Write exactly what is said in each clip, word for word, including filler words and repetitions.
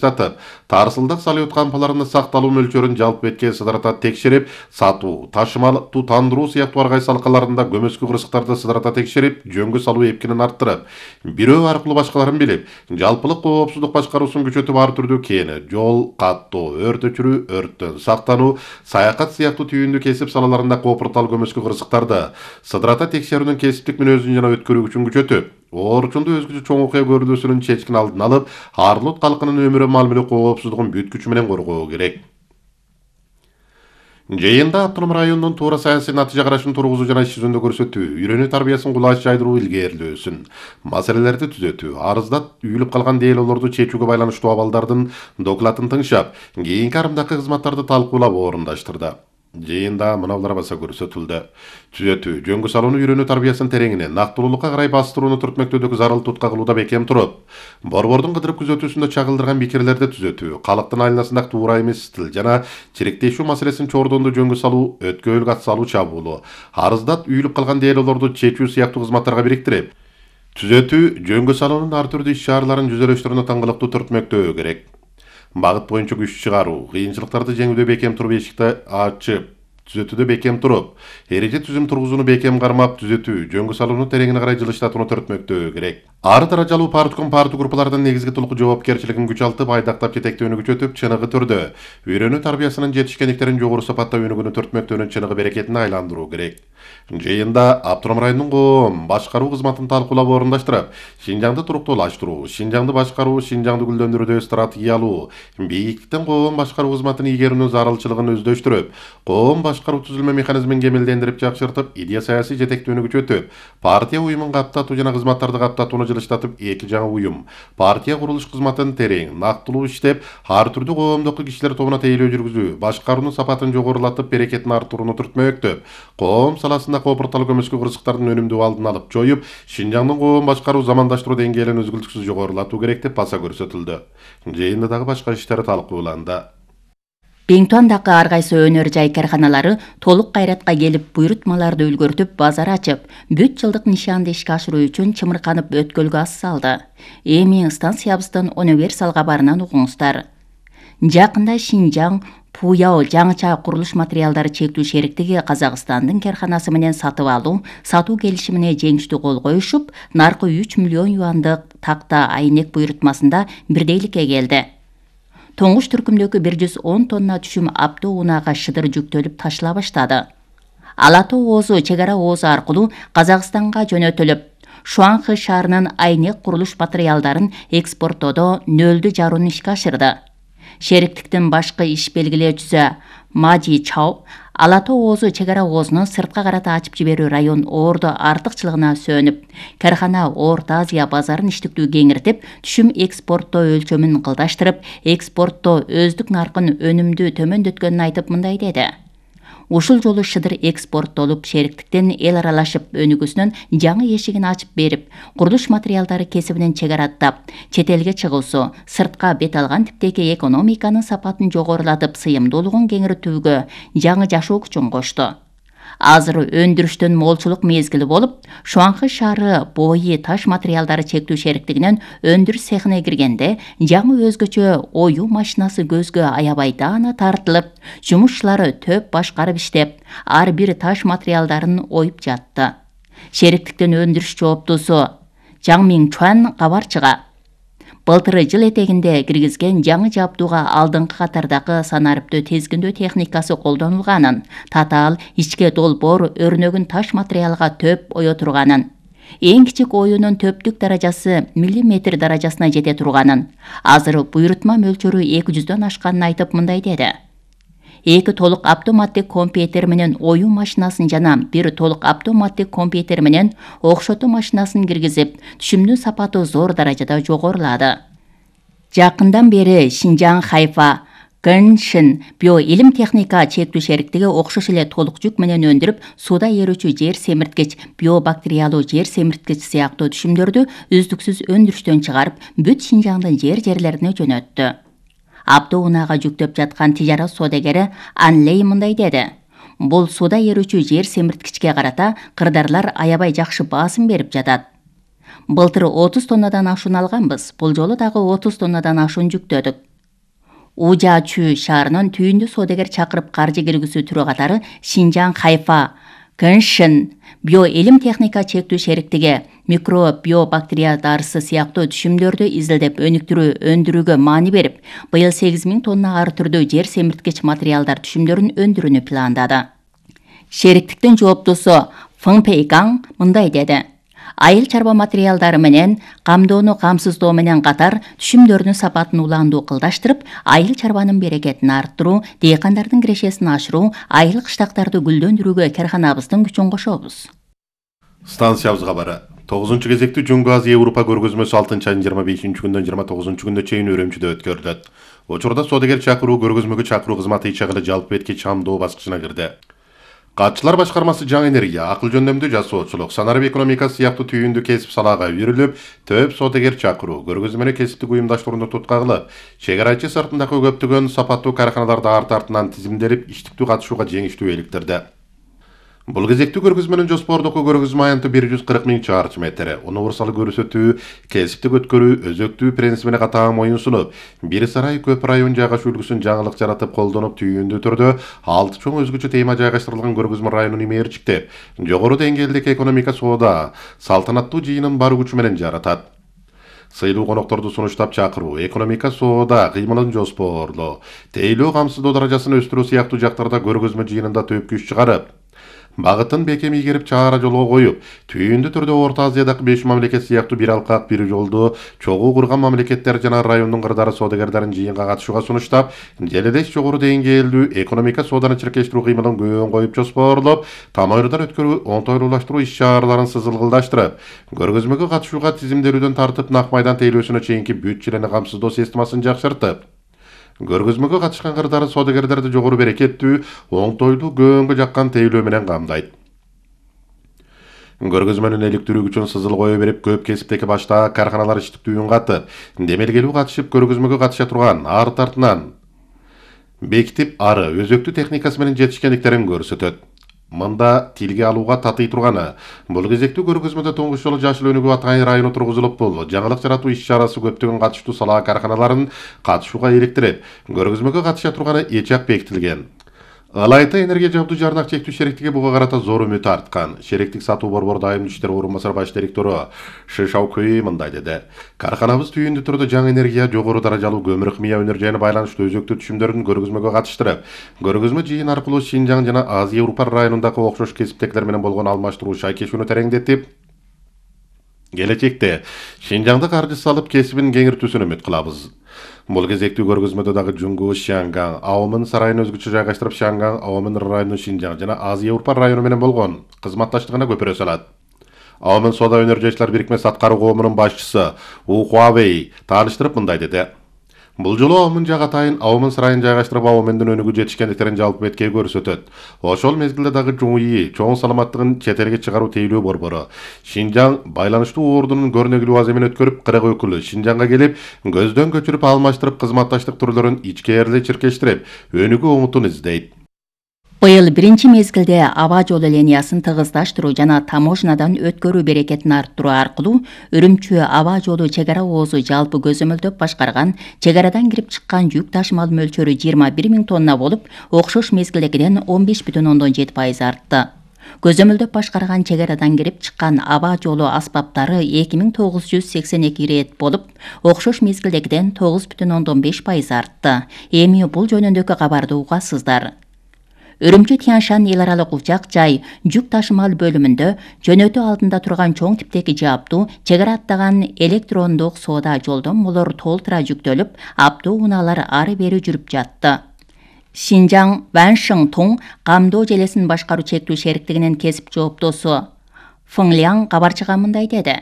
жатып, тарсылдык салют кампаларынын сакталуу мөлчөрүн жалпы бетке сыдырата текшерип, сатуу, ташымалуу тандыруу сыяктуу ар кайсы алкаларында көмөскү кырсыктарды сыдырата текшерип, жөнгө салуу эпкинин арттырып, бирөө аркылуу башкаларын билип, жалпылык коопсуздук башкаруусун күчөтүп ар түрдүү кээне, жол, каттоо, өрт өчүрүү, өрттөн сактануу, саякат сыяктуу түйүндүү кесип салаларында кооптуртал көмөскү кырсыктарды сыдырата текшерүүнүн кесиптик мүнөзүн жана өткөрүү күчүн күчөтүп, оорчунду өзгөчө чоң окуя көрүлүүсүнүн чечкин алдын алып, Арлут калкынын өмүрү мамиле коопсуздугун бүт күчү менен коргоо керек. Жыйында автоном райондун туура саясий натыйжа карашын тургузуу жана иш жүзүндө көрсөтүү, үйрөнүү тарбиясын кулач жайдыруу илгээрилөөсүн, маселелерди түзөтүү, арызда үйүлүп калган деелоолорду чечүүгө байланыштуу абалдардын докладын тыңшап, кийинки арымдакы кызматтарды талкуулап орундаштырды. Жыйында мыналар баса көрсөтүлдү. Түзөтүү, жөнгө салууну үйрөнүү тарбиясын тереңине, нактылуулукка карай бастырууну түртмөктөөдөгү зарыл tutка кылууда бекем туруп, борбордун кыдырып күзөтүүсүндө чагылдырган пикирлерди түзөтүү, калктын айланасындагы туура эмес стил жана чириктешүү маселесин чордондо жөнгө салуу, өткөөлүк ат салуу чабуулу, арызда үйүлүп калган деелоолорду чечүү сыяктуу кызматтарга бириктирип, түзөтүү, жөнгө салуунун ар түрдүү иш чараларын жүзөлөштөрүнө таңгылыктуу түртмөктөө керек. Багыт боюнча күч чыгаруу, кыйынчылыктарды жеңүүдө бекем туруп эшикти ачып, түзөтүүдө бекем туруп, эреже түзүм тургузууну бекем кармап түзөтүү, жөнгө салууну тереңине карай жылыштатууну түртмөктөө керек. Ар даражалуу партком парту группалардын негизги толук жоопкерчилигин күчалтып, айдактап жетектөөнү күчөтүп, чыныгы түрдө үйрөнүү тарбиясынын жетишкендиктерин жогору сапатта өнүгүүнү түртмөктөөнүн чыныгы берекетине айландыруу керек. Жыйында автоном райондун коом башкаруу кызматын талкуулап орундаштырып, Шинжаңды туруктуулаштыруу, Шинжаңды башкаруу, Шинжаңды гүлдөндүрүүдө стратегиялуу, бийиктиктен коом башкаруу кызматын ийгерүүнүн зарылчылыгын өздөштүрүп, коом башкаруу түзүлмө механизмин кемелдендирип жакшыртып, идея саясий жетектөөнү күчөтүп, партия уюмун каптатуу жана кызматтарды каптатууну жылыштатып, эки жаңы уюм, партия курулуш кызматын терең, нактылуу иштеп, ар түрдүү коомдук кишилер тобуна тейлөө жүргүзүү, башкаруунун сапатын жогорулатып, берекетин арттырууну түртмөктөп, коом саласында кооптуртал көмөскү кырсыктардын өнүмдүү алдын алып жоюп, Шинжаңдын коом башкаруу замандаштыруу деңгээлин үзгүлтүксүз жогорулатуу керек деп баса көрсөтүлдү. Жыйында дагы башка иштер талкууланды. Беңтуандагы ар кайсы өнөр жай карканалары толук кайратка келип, буйрутмаларды үлгөртүп, базар ачып, бүт жылдык нишанды ишке ашыруу үчүн чымырканып өткөлгө ас салды. Эми станциябыздын универсал кабарынан угуңуздар. Жакында Шинжаң Пуяо жаңыча курулуш материалдары чектүү шериктиги Казакстандын карканасы менен сатып алуу, сатуу келишимине жеңиштүү кол коюшуп, наркы үч миллион юандык такта айнек буйрутмасында бирдейликке келди. Тоңуш түркүмдөгү бир жүз он тонна түшүм Апто унаага шыдыр жүктөлүп ташыла баштады. Ала Тоо оозу чек ара оозу аркылуу Казакстанга жөнөтүлүп, Шуанхы шаарынын айнек курулуш материалдарын экспорттоодо нөлдүү жаруун ишке ашырды. Шериктиктин башкы иш белгилөөчүсү Маджи Чао Ала Тоо оозу чек ара оозуну сыртка карата ачып жиберүү район ордо артыкчылыгына сөөнүп, каркана Орто Азия базарын иштиктүү кеңиртип, түшүм экспорттоо өлчөмүн кылдаштырып, экспорттоо өздүк наркын өнүмдүү төмөндөткөнүн айтып мындай деди. Ушул жолу шыдыр экспорттолуп, шериктиктен эл аралашып өнүгүүсүнүн жаңы эшигин ачып берип, курулуш материалдары кесибинен чек араттап, чет элге чыгуусу, сыртка бет алган типтеги экономиканын сапатын жогорулатып, сыйымдуулугун кеңиртүүгө жаңы жашоо күчүн кошту. Азыр өндүрүштүн молчулук мезгили болуп, Шуанхы шаары бойи таш материалдары чектүү шериктигинин өндүрүш цехине киргенде, жаңы өзгөчө оюу машинасы көзгө аябай даана тартылып, жумушчулары төп башкарып иштеп, ар бир таш материалдарын оюп жатты. Шериктиктин өндүрүш жооптуусу Жаң Минчуан кабар чыга. Былтыр жыл этегинде киргизген жаңы жабдууга алдыңкы катардагы санарыптуу тезгиндөө техникасы колдонулганын, татаал ичке долбоор өрнөгүн таш материалга төп ое турганын, эң кичик оюунун төптүк даражасы миллиметр даражасына жете турганын, азыр буйрутма мөлчөрү эки жүздөн ашканын айтып мындай деди. Эки толук автоматтык компьютер менен оюу машинасын жана бир толук автоматтык компьютер менен окшотуу машинасын киргизип, түшүмдүн сапаты зор даражада жогорулады. Жакындан бери Шинжаң Хайфа Гэншин биоилим техника чектүү шериктиги окшош эле толук жүк менен өндүрүп, сууда ээрүүчү жер семирткич, биобактериялуу жер семирткич сыяктуу түшүмдөрдү үздүксүз өндүрүштөн чыгарып, бүт Шинжаңдын жер-жерлерине жөнөттү. Апто унаага жүктөп жаткан тижарат соодагери Анлей мындай деди. Бул сууда ээрүүчү жер семирткичке карата кырдарлар аябай жакшы баасым берип жатат. Былтыр отуз тоннадан ашуун алганбыз, бул жолу дагы отуз тоннадан ашуун жүктөдүк. Ужачу шаарынын түйүндү соодагер чакырып каржы киргизүү түрү катары Шинжаң Хайфа Кэншин биоэлим техника чектүү шериктиги микро биобактерия дарысы сыяктуу түшүмдөрдү изилдеп өнүктүрүү өндүрүүгө маани берип, быйыл сегиз миң тонна ар түрдүү жер семирткич материалдар түшүмдөрүн өндүрүүнү пландады. Шериктиктин жооптусу Фың Пейгаң мындай деди: айыл чарба материалдары менен камдоону камсыздоо менен катар түшүмдөрдүн сапатын улаандуу кылдаштырып, айыл чарбанын берекетин арттыруу, дыйкандардын кирешесин ашыруу, айыл кыштактарды гүлдөндүрүүгө карханабыздын күчүн кошобуз. Станциябыз кабары. тогузунчу кезектүү Жөнгө Азия Европа көргөзмөсү алтынчы айдын жыйырма бешинчи күндөн жыйырма тогузунчу күнүнө чейин Өрөмчүдө өткөрүлөт. Учурда соодагер чакыруу көргөзмөгө чакыруу кызматы ичагылы жалпы бетки чамдоо баскычына кирди. Катчылар башкармасы жаңы энергия, акыл жөндөмдүү жасоочулук, санарип экономикасы сыяктуу түйүндүү кесип салаага үйрүлүп, төп соодагер чакыруу көргөзмөнү кесиптик уюмдаштырууну tutка кылып, чек арачы сыртындагы көптөгөн сапаттуу карханаларды арты артынан тизимделип, иштиктүү катышууга жеңиштүү иликтирди. Бул кезектүү көргөзмөнүн жоспордуку көргөзмө аянты бир жүз кырк миң чарчы метр, универсал көрсөтүү, кесиптик өткөрүү, өзөктүү принцибине катаң оюн сунуп, бир сарай көп район жайгашуу үлгүсүн жаңылык жаратып колдонуп, түйүндүү түрдө алты чоң өзгөчө тема жайгаштырылган көргөзмө районун имээрчиктеп, жогору деңгээлдеги экономика соода салтанаттуу жыйынын бар күчү менен жаратат. Сыйлуу конокторду сунуштап чакыруу, экономика соода кыймылын жоспорлоо, тейлөө камсыздоо даражасын өстүрүү сыяктуу жактарда көргөзмө жыйынында төп күч чыгарып, багытын бекем ийгерип чаара жолго коюп, түйүндүү түрдө Орто Азиядагы беш мамлекет сыяктуу бир алкак бир жолду чогуу курган мамлекеттер жана райондун кырдаары соодагерлерин жыйынга катышууга сунуштап, желедеш жогору деңгээлдүү экономика сооданы чиркештирүү кыймылын көөн коюп жоспорлоп, там ойрудан өткөрүү, оңтойлуулаштыруу иш-чараларын сызылгылдаштырып, көргөзмөгө катышууга тизимделүүдөн тартып нак майдан тейлөөсүнө чейинки бүт жилени камсыздоо системасын жакшыртып, көргөзмөгө катышкан кырдаары соодагерлерди жогору берекеттүү, оңтойлуу көөнгө жаккан тейлөө менен камдайт. Көргөзмөнүн иликтирүү үчүн сызыл кое берип, көп кесиптеги баштаак карханалар иштиктүүн катып, демелгелүү катышып көргөзмөгө катыша турган арт артынан бекитип ары өзөктүү техникасы менен жетишкендиктерин көрсөтөт. Мында тилге алууга татый турганы, бул кезектүү көргөзмөдө туңгуч жолу жашыл өнүгүү атайын району тургузулуп, бул жаңылык жаратуу иш-чарасы көптөгөн катыштуу сала карханаларын катышууга иликтирип, көргөзмөгө катыша турганы эчак бекитилген. Ылайта энергия жабдуу жарнак чектүү шериктиги буга карата зор үмүт арткан. Шериктик сатуу борбор дайымдуу иштер орун басар баш директору Ши Шаокуй мындай деди: карханабыз түйүндүү түрдө жаңы энергия, жогору даражалуу көмүр химия өнөр байланыштуу өзөктүү түшүмдөрүн көргөзмөгө катыштырып, көргөзмө жыйын аркылуу Шинжаң жана Азия Европа районундагы окшош кесиптегилер менен болгон алмаштыруу шайкешүүнү тереңдетип, келечекте Шинжаңда каржы салып кесибин кеңиртүүсүн үмүт кылабыз. Бул кезектүү көргөзмөдө дагы Жунгу, Шангаң, Аомын сарайын өзгөчө жайгаштырып, Шангаң, Аомын районунун Шинжаң жана Азия Европа району менен болгон кызматташтыгына көпүрө салат. Аомын соода өнөр жайчылар бирикмеси аткаруу коомунун башчысы У Хуавей тааныштырып мындай деди: бул жолу Аомын жак атайын Аомын сарайын жайгаштырып, Аомындын өнүгүү жетишкендиктерин жалпы бетке көрсөтөт. Ошол мезгилде дагы Жуңуи чоң саламаттыгын чет элге чыгаруу тейлөө борбору, Шинжаң байланыштуу ордунун көрнөкүлүү аземин өткөрүп, кырк өкүлү Шинжаңга келип, көздөн көчүрүп алмаштырып, кызматташтык түрлөрүн ичкериле чиркештирип, өнүгүү умутун издейт. Быйыл биринчи мезгилде аба жолу линиясын тыгыздаштыруу жана таможнядан өткөрүү берекетин арттыруу аркылуу Үрүмчү аба жолу чек ара оозу жалпы көзөмөлдөп башкарган чек арадан кирип чыккан жүк ташымал мөлчөрү жыйырма бир миң тонна болуп, окшош мезгилдегиден он беш бүтүн ондон жети пайыз артты. Көзөмөлдөп башкарган чек арадан кирип чыккан аба жолу аспаптары эки миң тогуз жүз сексен эки ирет болуп, окшош мезгилдегиден тогуз бүтүн ондон беш пайыз артты. Эми бул жөнүндөгү кабарды угасыздар. Үрүмчү Тяншан эл аралык учак жай жүк ташымал бөлүмүндө жөнөтүү алдында турган чоң типтеги жаптуу чек ара аттаган электрондук соода жолдомолор толтура жүктөлүп, аптуу унаалар ары бери жүрүп жатты. Шинжаң Ваншың Туң камдоо желесин башкаруу чектүү шериктигинин кесип жооптосу Фыңляң кабарчыга мындай деди: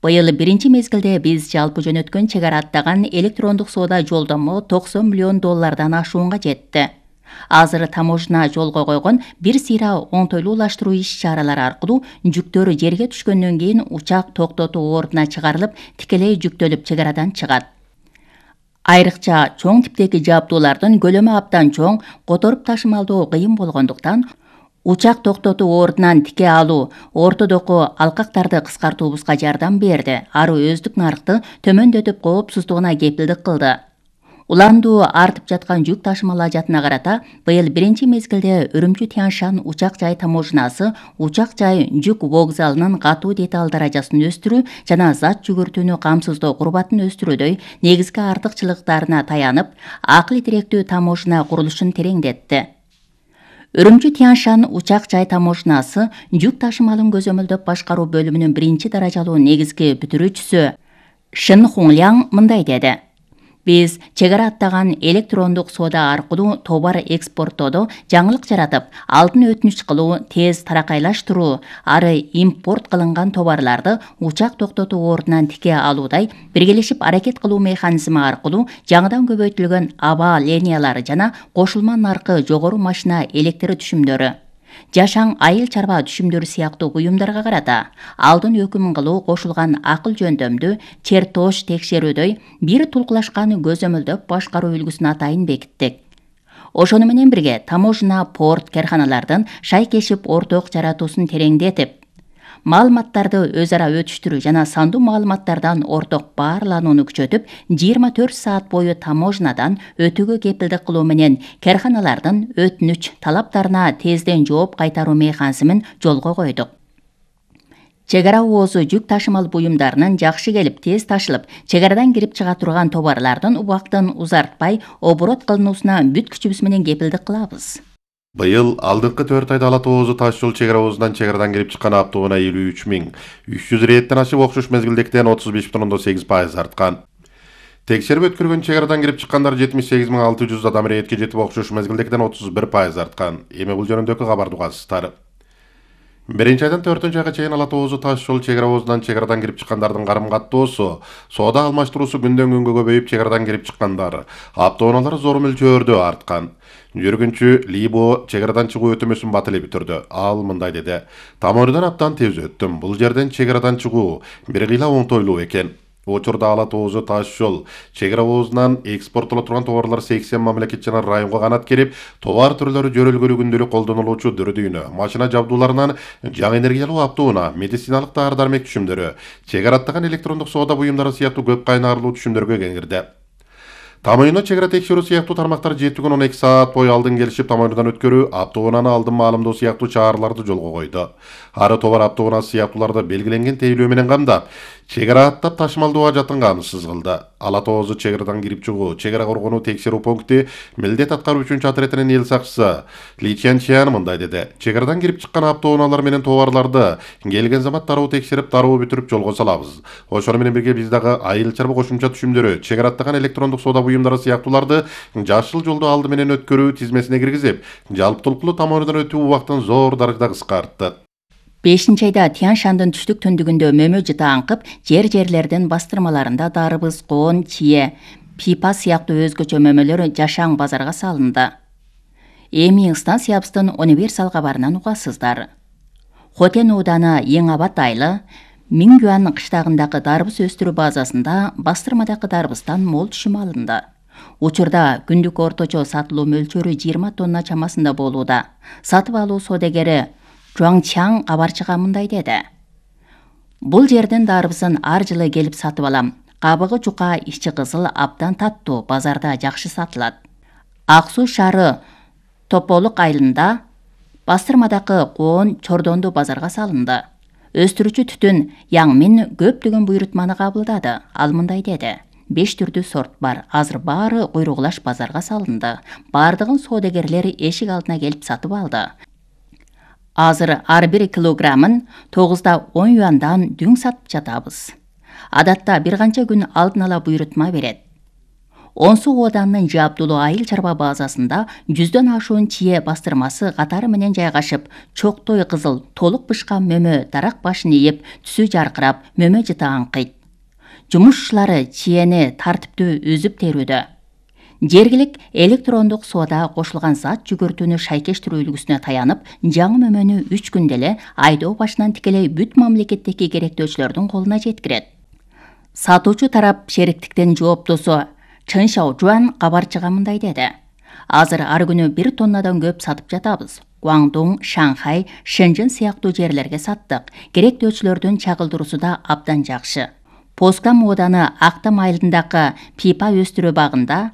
быйыл биринчи мезгилде биз жалпы жөнөткөн чек ара аттаган электрондук соода жолдомо токсон миллион доллардан ашуунга жетти. Азыр таможня жолго койгон бир сыйра оңтойлуулаштыруу иш-чаралары аркылуу жүктөр жерге түшкөндөн кийин учак токтотуу ордуна чыгарылып, тикелей жүктөлүп чек арадан чыгат. Айрыкча чоң типтеги жабдуулардын көлөмү абдан чоң, которуп ташымалдоо кыйын болгондуктан учак токтотуу ордунан тике алуу ортодогу алкактарды кыскартуубузга жардам берди. Ары өздүк нарыкты төмөндөтүп, коопсуздугуна кепилдик кылды. Уландуу артып жаткан жүк ташымал ажатына карата быйыл биринчи мезгилде Үрүмчү Тянь-Шань учак жай таможнасы учак жай жүк вокзалынын катуу деталь даражасын өстүрүү жана зат жүгүртүүнү камсыздоо курбатын өстүрүүдөй негизги артыкчылыктарына таянып, акыл тиректүү таможна курулушун тереңдетти. Үрүмчү Тянь-Шань учак жай таможнасы жүк ташымалын көзөмөлдөп башкаруу бөлүмүнүн биринчи даражалуу негизги бүтүрүүчүсү Шин Хунляң мындай деди: Биз чегара аттаган электрондук соода аркылуу товар экспорттоодо жаңылык жаратып, алдын өтүнүч кылуу, тез таракайлаштыруу, ары импорт кылынган товарларды учак токтотуу ордунан тике алуудай биргелешип аракет кылуу механизми аркылуу жаңыдан көбөйтүлгөн аба линиялары жана кошулма наркы жогору машина электр түшүмдөрү, жашаң айыл чарба түшүмдөрү сыяктуу буюмдарга карата алдын өкүм кылуу кошулган акыл жөндөмдү чертож текшерүүдөй бир тулкулашкан көзөмөлдөп башкаруу үлгүсүн атайын бекиттик. Ошону менен бирге таможна, порт, карханалардын шайкешип орток жаратуусун тереңдетип, маалыматтарды өз ара өтүштүрүү жана сандуу маалыматтардан орток баарланууну күчөтүп, жыйырма төрт саат бою таможнадан өтүүгө кепилдик кылуу менен карханалардын өтүнүч талаптарына тезден жооп кайтаруу механизмин жолго койдук. Чегара оозу жүк ташымал буюмдарынын жакшы келип, тез ташылып, чегарадан кирип чыга турган товарлардын убактын узартпай оборот кылынуусуна бүт күчүбүз менен кепилдик кылабыз. Быйыл алдыңкы төрт айда Ала Тоозу таш жол чегара оозунан чегарадан кирип чыккан автоунаа элүү үч миң үч жүз рейдтен ашып, окшош мезгилдегиден отуз беш бүтүн ондон сегиз пайыз арткан. Текшерип өткөргөн чегарадан кирип чыккандар жетимиш сегиз миң алты жүз адам рейдке жетип, окшош мезгилдегиден отуз бир пайыз арткан. Эми бул жөнүндөгү кабарды угасыздар. Биринчи айдан төртүнчү айга чейин Ала Тоозу таш жол чегара оозунан чегарадан кирип чыккандардын карым каттоосу, соода алмаштыруусу күндөн күнгө көбөйүп, чегарадан кирип чыккандар, автоунаалар зор мөлчөрдө арткан. Жүргүнчү Либо чегарадан чыгуу өтөмөсүн бат эле бүтүрдү. Ал мындай деди: Таморидан абдан тез өттүм. Бул жерден чегарадан чыгуу бир кыйла оңтойлуу экен. Учурда Ала Тоозу таш жол чегара оозунан экспорттоло турган товарлар сексен мамлекет жана районго канат керип, товар түрлөрү жөрөлгөлүү күндөлүк колдонулуучу дүрдүйнө, машина жабдууларынан жаңы энергиялуу автоунаа, медициналык дары-дармек түшүмдөрү, чегара аттаган электрондук соода буюмдары сыяктуу көп кайнарлуу түшүмдөргө кеңирди. Тамоюна чегара текшерүү сыяктуу тармактар жети күн он эки саат бою алдын келишип, тамоюнадан өткөрүү, автоунааны алдын маалымдоо сыяктуу чараларды жолго койду. Ары товар автоунаасы сыяктууларды белгиленген тейлөө менен камдап, чегара аттап ташымалдоо ажатын камсыз кылды. Ала Тоозу чегарадан кирип чыгуу, чегара коргонуу текшерүү пункти милдет аткаруучу отрядынын эл сакчысы Ли Чянчиан мындай деди: Чегарадан кирип чыккан автоунаалар менен товарларды келген замат дароо текшерип, дароо бүтүрүп жолго салабыз. Ошону менен бирге биз дагы айыл чарба кошумча түшүмдөрү, чегара аттаган электрондук соода буюмдары сыяктууларды жашыл жолду алды менен өткөрүү тизмесине киргизип, жалптылыктуу тамоюнадан өтүү убактын зор даражада кыскарттык. бешинчи айда Тянь-Шандын түштүк төндүгүндө мөмө жыта аңкып, жер-жерлердин бастырмаларында дарбыз, коон, чие, пипа сыяктуу өзгөчө мөмөлөр жашаң базарга салынды. Эми станциябыздын универсал кабарынан угасыздар. Хотен Уданы Эң Абат айылы Мингюан кыштагындагы дарбыз өстүрүү базасында бастырмадагы дарбыздан мол түшүм алынды. Учурда күндүк орточо сатылуу мөлчөрү жыйырма тонна чамасында болууда. Сатып алуу содегери Жуаңчаң кабарчыга мындай деди: Бул жерден дарбызын ар жылы келип сатып алам. Кабыгы жука, ичи кызыл, абдан таттуу, базарда жакшы сатылат. Ак Суу шаары Тополук айылында бастырмадагы коон чордонду базарга салынды. Өстүрүүчү түтүн Яңмин көптөгөн буйрутманы кабылдады. Ал мындай деди: беш түрдүү сорт бар. Азыр баары куйругулаш базарга салынды. Бардыгын соодагерлер эшик алдына келип сатып алды. Азыр ар бир килограммын тогузда он юандан дүң сатып жатабыз. Адатта бир канча күн алдын ала буйрутма берет. Онсу Оданынын жабдулуу айыл чарба базасында жүздөн ашуун чие бастырмасы катары менен жайгашып, чоктой кызыл, толук бышкан мөмө дарак башын ийип, түсү жаркырап, мөмө жыта аңкыйт. Жумушчулары чиени тартиптүү үзүп терүүдө. Жергилик электрондук соода кошулган зат жүгүртүүнү шайкештирүү үлгүсүнө таянып, жаңы мөмөнү үч күндө эле айдоо башынан тикелей бүт мамлекеттеги керектөөчүлөрдүн колуна жеткирет. Сатуучу тарап шериктиктен жооптосу Чын Шаожуан кабарчыга мындай деди: Азыр ар күнү бир тоннадан көп сатып жатабыз. Гуаңдун, Шанхай, Шэньчжэн сыяктуу жерлерге саттык. Керектөөчүлөрдүн чагылдыруусу да абдан жакшы. Поскам Оданы Актам айылындагы пипа өстүрүү багында